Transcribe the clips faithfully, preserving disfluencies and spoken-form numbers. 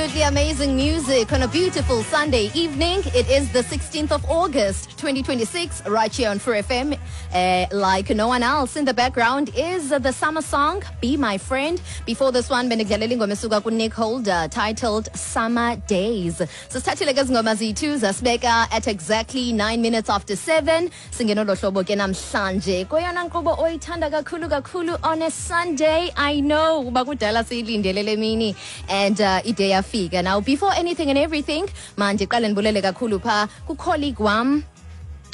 Absolutely amazing music on a beautiful Sunday evening. It is the sixteenth of August, twenty twenty-six, right here on True F M. Uh, like no one else, in the background is the summer song, "Be My Friend." Before this one, bendikudlalela ingoma esuka kuNick Holder titled "Summer Days." Sisithathile ke zingoma zethu zasibeka at exactly nine minutes after seven. Singenolo hlobo ke namhlanje kweyona nkqubo oyithanda kakhulu kakhulu on a Sunday. I know uba kudala siyilindele le mini and uh, ide yafika. Now, before anything and everything, mandiqale ndibulele kakhulu pha kucolleague wam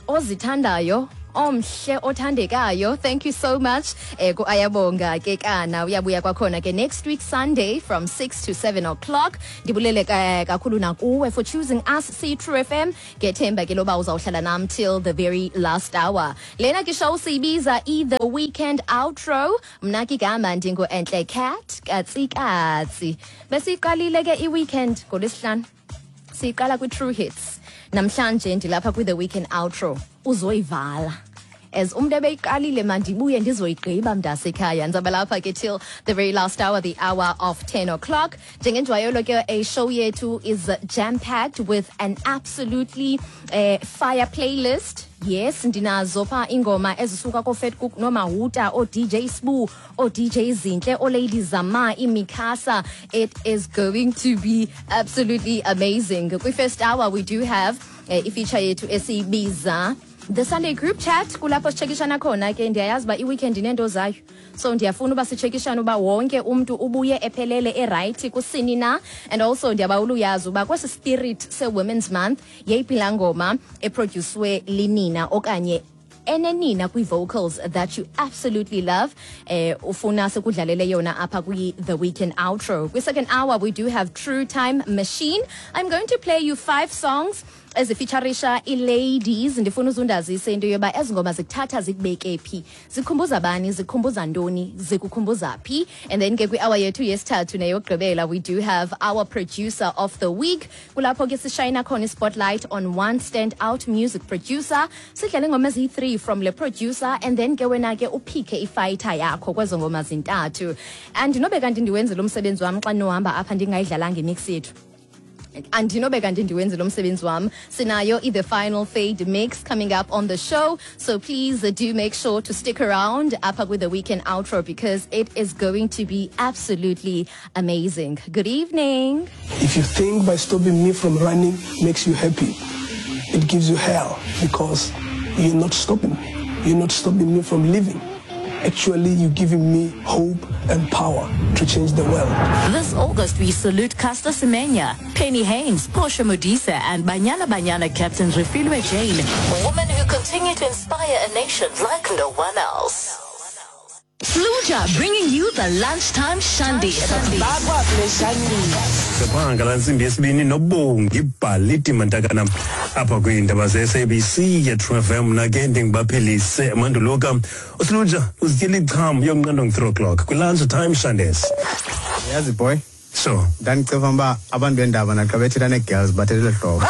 ozithandayo, omhle, othandekayo. Thank you so much eh ku-Ayabonga ke kana uyabuya kwakhona ke next week Sunday from six to seven o'clock. Ndibulele ka- kakhulu nakuwe for choosing us siyi-True F M. Ngethemba ke loba uzawuhlala nam till the very last hour. Lena ke show siyibiza i-The Weekend Outro. Mna ke igama ndingu-Entle Cat Katsikatsi. Besiyiqalile ke i-weekend ngolwesihlanu, siyiqala kwi-True Hits. Namhlanje ndilapha kwi-The Weekend Outro uzoyivala as umntu ebeyiqalile. Mandibuye ndizoyigqiba, mntasekhaya. Ndizawuba lapha ke till the very last hour, the hour of ten o'clock. Njengenjwayelo ke, a show yethu is jam packed with an absolutely uh, fire playlist. Yes, ndinazo pha ingoma ezisuka koFatcook noMahuta, oo-D J Sbu, oo-D J Zinhle, oo-Lady Zama, iMicasa. It is going to be absolutely amazing. Kwi-first hour we do have uh, ifeature yethu esiyibiza The Sunday Group Chat, kulapho sitshekishana khona ke. Ndiyayazi uba i-weekend ineento zayo, so ndiyafuna uba sitshekishane uba wonke umntu ubuye ephelele, erayithi kusini na. And also ndiyabawula uyazi uba kwesi spirit se-Women's Month, yeyiphi laa ngoma eprodyuswe linina okanye enenina kwi-vocals that you absolutely love, eh ufuna sikudlalele yona apha kwi-The Weekend Outro. Kwi-second hour we do have True Time Machine. I'm going to play you five songs ezifeaturisha ii-ladies. Ndifuna uzundazise into yoba ezi ngoma zikuthatha zikubeke phi, zikhumbuza bani, zikhumbuza ntoni, zikukhumbuza phi. And then ke kwi-hour yethu yesithathu neyokugqibela, we do have our producer of the week, kulapho ke sishayina khona i-spotlight on one stand out music producer. Sidlale ingoma eziyi-three from le producer and then ke wena ke uphike ifighter yakho kwezo ngoma zintathu. And nobe kanti ndiwenzile umsebenzi wam xa ndinohamba apha ndingayidlalanga imix yethu, andinobe kanti ndiwenze lo msebenzi wam. Sinayo i-The Final Fade mix coming up on the show, so please uh, do make sure to stick around apha with the Weekend Outro because it is going to be absolutely amazing. Good evening. If you think by stopping me from running makes you happy, it gives you hell because you're not stopping me. You're not stopping me from living. Actually, you're giving me hope and power to change the world. This August, we salute Caster Semenya, Penny Haynes, Portia Modise, and Banyana Banyana captain Refiloe Jane, women who continue to inspire a nation like no one else. Sluja, bringing you the lunchtime shandy. Siphanga la ntsimbi yesibini noBongi Bhaliti Mantakana apha kwiindaba ze-S A B C ye-True F M. Mna ke ndingibaphelise manduluka uSiluja uzityela icham yonqando nge-three o'clock kwi-lunch time shandes. Yazi boy, so ndandicinga uba abantu bendaba naxa bethetha nee-girls bathetha hlobo.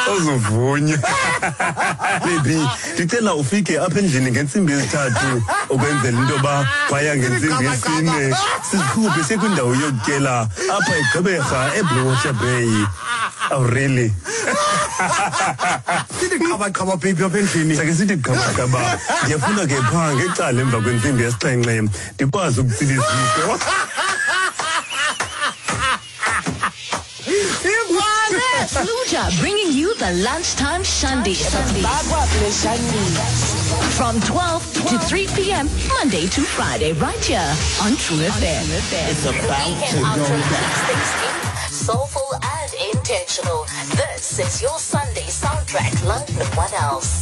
Sazuvunya baby, ndicela ufike apha endlini ngentsimbi yesithathu ukwenzela into yoba phaya ngentsimbi yesine sizikhuphe siye kwindawo yokutyela apha eGqeberha, eBlue Water Bay. Oh really? Sithi qhabaqhaba baby apha endlini. Sake sithi qhabaqhaba. Ndiyafuna ke phaa ngecala emva kwentsimbi yesixhenxe ndikwazi ukutsila iziko. Sluja, bringing you the lunchtime shandy. From twelve to three p m. Monday to Friday, right here on True F M. It's about to Weekend go Outro down. Keeps things deep, soulful, and intentional. This is your Sunday soundtrack like no one else.